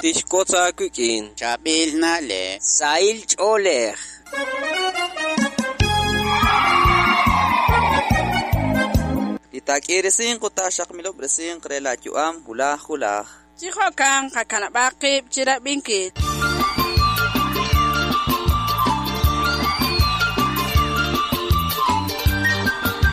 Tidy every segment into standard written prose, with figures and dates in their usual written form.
Tixwotz aawik'in Chaab'il na'leb'. Sahil ch'oolej. Li taak'iirisinq ut taaxaqmilob'resinq re laayu'am wulaj wulaj. Chi jo'kan qakanab'aq qib' chi rab'inkil.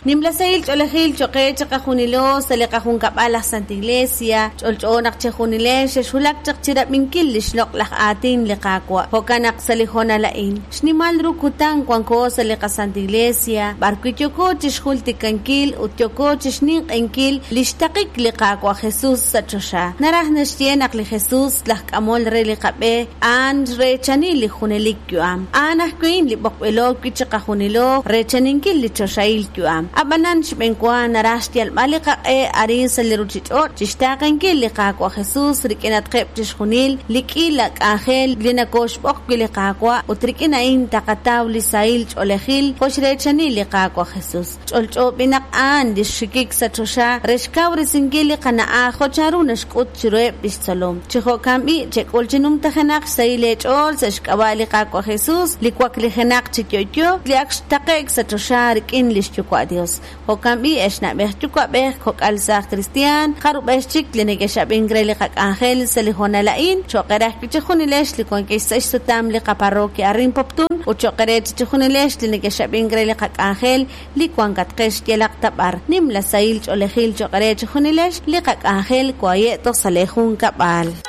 Nimla sahil ch'oolejil cho'q qe chiqajunilo sa' li qajunkab'al aj Santa Iglesia, ch'olch'o naq chejunilex xexwulak chaq chi rab'inkil li xloq'laj aatin li Qaawa'. Jo'kan naq sa' li hoonal a'in, xnimal ru kutan wanko sa' li qaSanta Iglesia, b'arwi' yooko chi xjultikankil ut yooko chi xninq'ehinkil li xtaqik li Qaawa' Jesus sa' choxa. Naraj naxye naq li Jesus, laj k'amol re li qab'e, a'an xreechani li junelik yu'am. A'an ajwi' li b'oqb'ilo wi' chiqajunilo reechaninkil li choxahil yu'am. Ab'anan xb'enwa naraj xyalb'al li qaq'e arin sa' li ruuchich'och' chi xtaaqenkil li Qaawa' Jesus rik'inatqeb' chixjunil li k'iila k'anjel li nakooxb'oq wi' li Qaawa' ut rik'in a'in taqataw li sahil ch'oolejil jo' xreechani li Qaawa' Jesus. Ch'olch'o b'i' naq a'an li xxikik sa' choxa re xkawresinkil li qana'aj jo' chanru naxk'ut chiruheb' li xtzolom. Chi jo'kan b'i', chek'ul chi numtajenaq xsahil eech'ool sa' xk'ab'a' li Qaawa' Jesus, li waklijenaq chi yo'yo, li ak xtaqe'k sa' choxa rik'in li xYuwa' Yos. Jo'kan b'i', ex na'b'ej yuwa'b'ej, kok'al saaj kristiaan, jarub'ex chik li nekex'ab'ink re li qak'anjel sa' li hoonal a'in, cho'q eere ajwi' chejunilex li wankex sa' xsutam li qaparroquia arin Poptún ut cho'q eere chejunilex li nekex'ab'ink re li qak'anjel li wankatqex yalaq ta b'ar. Nimla sahil ch'oolejil cho'q eere chejunilex li qak'anjel waye' toj sa' leejunkab'al.